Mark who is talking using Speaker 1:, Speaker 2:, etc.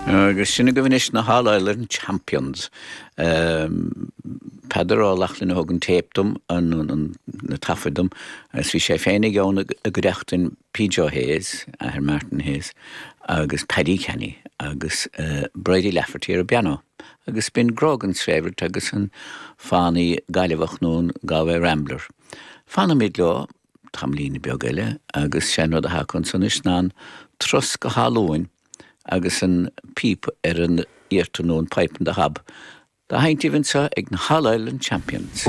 Speaker 1: Agus sin agaibh anois na hAll Ireland Champions. Peadar Ó Lochlainn a thug an téip dom, na taifid dom, agus bhí sé féin ag ann i gcuideachtain P. Joe Hayes, athair Martin Hayes, agus Paddy Canny agus Bridie Lafferty ar an bpianó. Agus b'in Grogan's Favourite agus an Fánaí Gaillimheach nó an Galway Rambler. Fanfaimid leo tamaillín beag eile agus sé an rud atá acu ansan anois ná an turas go hÁth Luain agus an píopa ar an iartar nó an pipe on the hob dá sheinnt daoibh anseo ag na hAll Ireland Champions.